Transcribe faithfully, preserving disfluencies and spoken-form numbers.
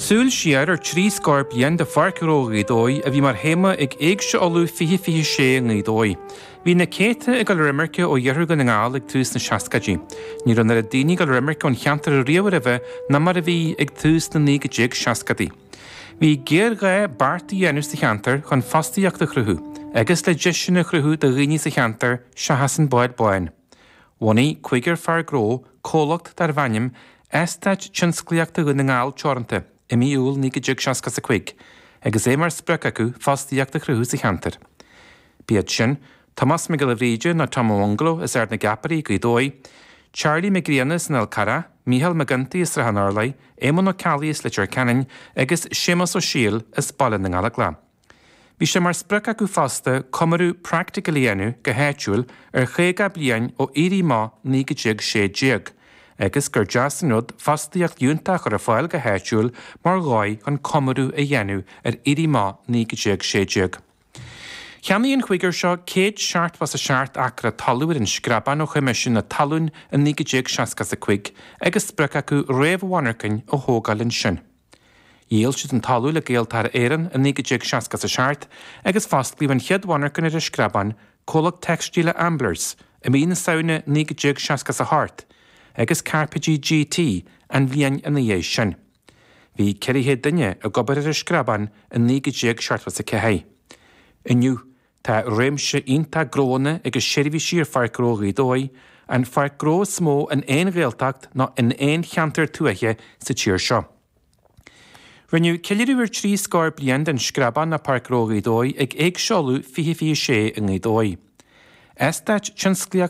Súil siar ar trí scór bliain de Pháirc Ghnó Ghaoth Dobhair a bhí mar théama ag Éigse Uladh fiche fiche sé i nGaoth Dobhair. Bhí na céadta ag dul ar imirce ó iarthar Dhún na nGall ag tús na seascaidí. Ní raibh an oiread daoine ag dul ar imirce ón cheantar riamh roimhe ná mar a bhí ag tús na naoi déag seascadaí. Bhí géarghá beart a dhéanamh sa cheantar chun fostaíocht a chruthú, agus le deiseanna a chruthú do dhaoine sa cheantar seachas an bád bán. Bhunaigh cúigear fear gnó comhlacht darbh ainm Eastáit Tionsclaíochta Dhún na nGall Teoranta i mí Iúil naoi déag seasca a cúig, agus é mar sprioc acu fostaíocht a chruthú sa cheantar. B'iad sin, Tomás Mac Giolla Bhríde nó Tom Bungalow as Ard na gCeapairí Gaoth Dobhair, Charlie Mac Grianna as an Fhál Carrach, Mícheál Mac Ginty as Srath an Urláir, Éamonn Ó Ceallaigh as Leitir Ceanainn agus Séamus Ó Siail as Baile na nGallóglach. Bhí sé mar sprioc acu fosta comóradh praiticiúil a dhéanamh go háitiúil ar chaoga bliain ó Éirí Amach naoi déag sé déag, agus gur deas an rud fostaíocht fhiúntach a chur ar fáil go háitiúil mar dhóigh chun comóradh a dhéanamh ar Éirí Amach naoi déag sé déag. Cheannaigh an cúigear seo céad seachtó a seacht acra talún ar an Screabán ó Choimisiún na Talún i naoi déag seasca a cúig agus sprioc acu réamh-mhonarchain a thógáil ansin. Dhíol siad an talamh le Gaeltarra Éireann i naoi déag seasca a seacht agus fosclaíodh an chéad mhonarcha ar an Screabán, comhlacht teicstíle Amblers, i mí na Samhna naoi déag seasca a hocht, agus cairpéidí GT an bhliain ina dhiaidh sin. Bhí ceithre chéad duine ag obair ar an Screabán i naoi déag seachtó a ceathair. Inniu tá réimse iontach gnóanna agus seirbhísí ar Pháirc Ghnó Ghaoth Dobhair, an pháirc ghnó is mó in aon Ghaeltacht nó in aon cheantar tuaithe sa tír seo. Rinneadh ceiliúradh ar trí scór bliain den Screabán nó Páirc Ghnó Ghaoth Dobhair ag Éigse Uladh fiche fiche sé i nGaoth Dobhair. Eastáit tionsclaíochta